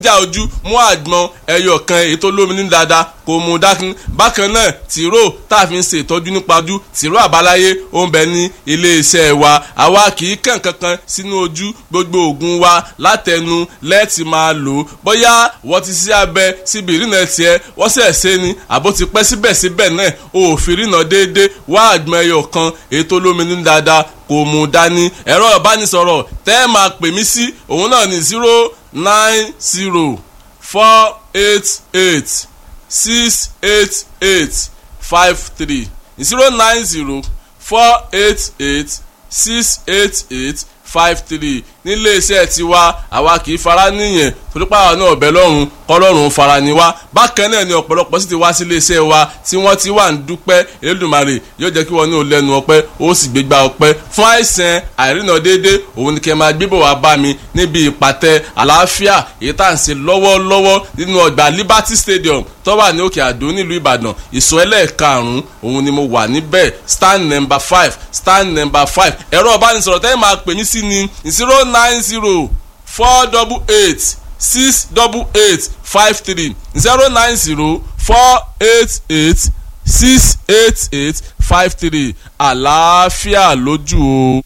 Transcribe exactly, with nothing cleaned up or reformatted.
Ìpèníjà ojú, mú àgbọn ẹyọ kan èyí tó lómi ní dáadáa kò mú dákun. Bákan náà, tìró tá a fi ń ṣe ìtọ́jú nípa ojú, tìró àbáláyé ó ń bẹ ní iléeṣẹ́ wa. Àwa kì í kàn kankan sínú ojú. Gbogbo oògùn wa látẹnu lẹ́ẹ̀tì máa lò ó. Bóyá wọ́n ti sí abẹ síbi ìrìnà tiẹ̀, wọ́n sẹ̀ ṣe ni àbó ti pẹ́, síbẹ̀síbẹ̀ náà òfin ìrìnà déédéé, wá àgbọn ẹyọ kan èyí tó lómi ní dáadáa kò mú dání. Ẹ̀rọ ìbánisọ̀rọ̀ tẹ́ ẹ máa pè mí sí, òun náà ní zero nine zero four eight eight six eight eight five three, zero nine zero four eight eight six eight eight five three. Nílé iṣẹ́ tiwa, àwa kì í fara níyẹn, torí pàwọn náà ọ̀bẹ lọ́rùn kọ́lọ́run fara ni wá. Bákan náà ni ọ̀pọ̀lọpọ̀ sì ti wá sí ilé iṣẹ́ wa tí wọ́n ti wà ń dúpẹ́. Elédùmarè yóò jẹ́ kí wọ́n ní ò lẹ́nu ọpẹ́, ó sì gbégbá ọpẹ́ fún àìsàn àìrìnà déédé. Òun ni kẹ́ máa gbébọ̀ wá bá mi níbi ìpàtẹ àlàáfíà èyí tá à ń ṣe lọ́wọ́lọ́wọ́ nínú ọgbà Liberty Stadium tó wà ní Òkè Àdó nílùú Ìbàdàn. Ìsọ̀ ẹlẹ́ẹ̀karùn-ún òun ni mo wà níbẹ̀, stand number five, stand number five. Ẹ̀rọ ìbánisọ̀rọ̀ tẹ́yìn máa pè mí sí ni zero nine zero four double eight six double eight five three, zero nine zero four eight eight six eight eight five three. Àlàáfíà lójú o.